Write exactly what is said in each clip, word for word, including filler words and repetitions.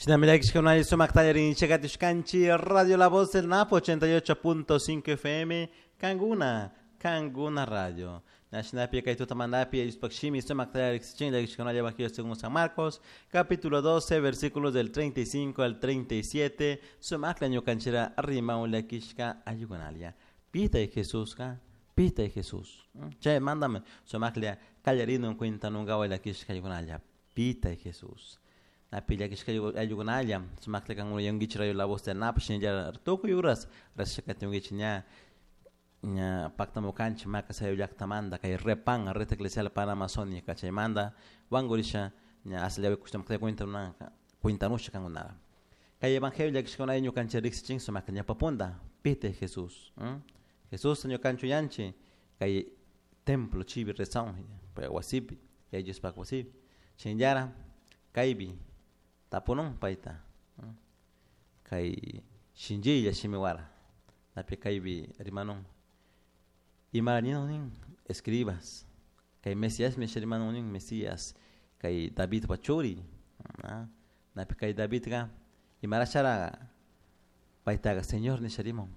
Radio La Voz del Napo ochenta y ocho punto cinco F M, Canguna, Canguna Radio. Según San Marcos, capítulo doce, versículos del treinta y cinco al treinta y siete, Pita y Jesús, Pita y Jesús. Che, mándame, Sumakla, Callarino, cuenta nunca Pita y Jesús. Napilla kishka ayugunalla sumakla kan yungichi rayo la voz del Napo shinlla tukuy uras rashakati yungichi ña ña paktamukanchik maka llaktamanta kay repan red eclesial panamazónica chaymanta wankurisha ña asllawi kushtamakta cuentanunanka cuentanusha kankunara kay evangelio llakishkunay ñukanchik riqsichin sumakla ñapapunta pite Jesús Jesús ñukanchik yanchik kay templo chibi rezaun wasipi Diospaq wasipi shinllara kaypi tapunun payta kay shinchilla shimiwara napi kaypi rimanun imaraninon nin escribas kay Mesías mi rimanun nin Mesías kay Davidpa churi napi kay Davidqa imarashara paytaqa Señor nisha riman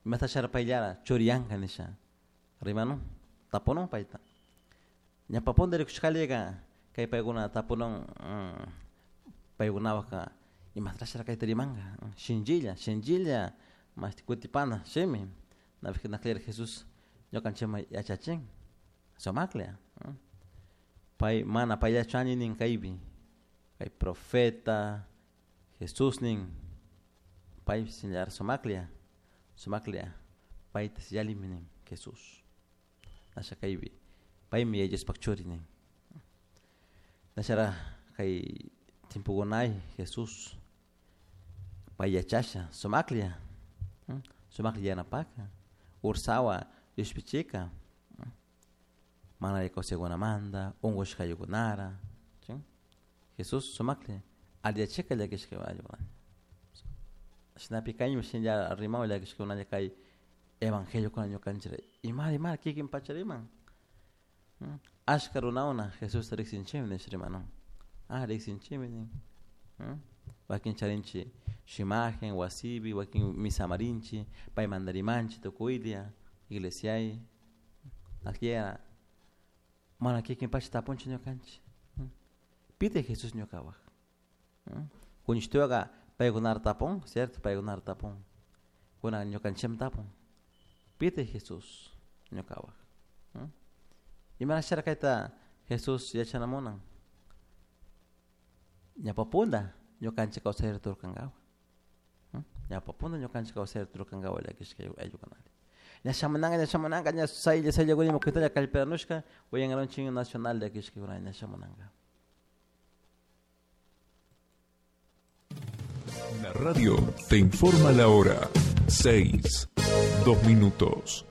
imatashara payllara churiyanqa nisha rimanun tapunun payta ñapapunta rikushqalliqa kay paykuna tapunun paykunawaqqa imatrashara kayta rimanqa shinchilla shinchilla mashti kutipana shimi napi naqlira Jesús ñuqanchikman yachachin sumaklla pay mana payllachu ani nin kaypi kay profeta Jesús nin pay shinllara sumaklla sumaklla payta yallimi nin Jesús nasha kaypi paymi Diospaq churi nin nashara kay timpukunay Jesús pay yachasha sumaklla sumaklla yanapaka ursawa llushpichika mana kawsaykunamanta unqushqayukunara Jesús sumaklla alliyachika llakishka ayllukuna shinapi kaymi shinlla rimawan llakishkakunalla kay evangeliokuna ñukanchik imara imara kikin pacha riman ashka runakuna Jesusta riqsinchikmi nisha rimanun ah riqsinchikmi nin wakin charinchik imagen wasipi wakin misamarinchik paymanta rimanchik tukuylla iglesiay aqllera mana kikin pacha tapunchik ñukanchik pite Jesús ñukawaq kuñishtuwaqa paykunara tapun cierto paykunara tapun kunan ñukanchikmi tapun pite Jesús ñukawaq imarashara kayta Jesús yachanamunan ñapapunta ñukanchik kawsayta turkankawa ñapapunta ñukanchik kawsayta turkankawa llakishka ayllukunari ña shamunanka ña shamunanka ña saylla sayllakunima kuytalla kallparanushka uyankaranchik nacional llakishkakuna ña shamunanka. La radio te informa la hora seis, dos minutos.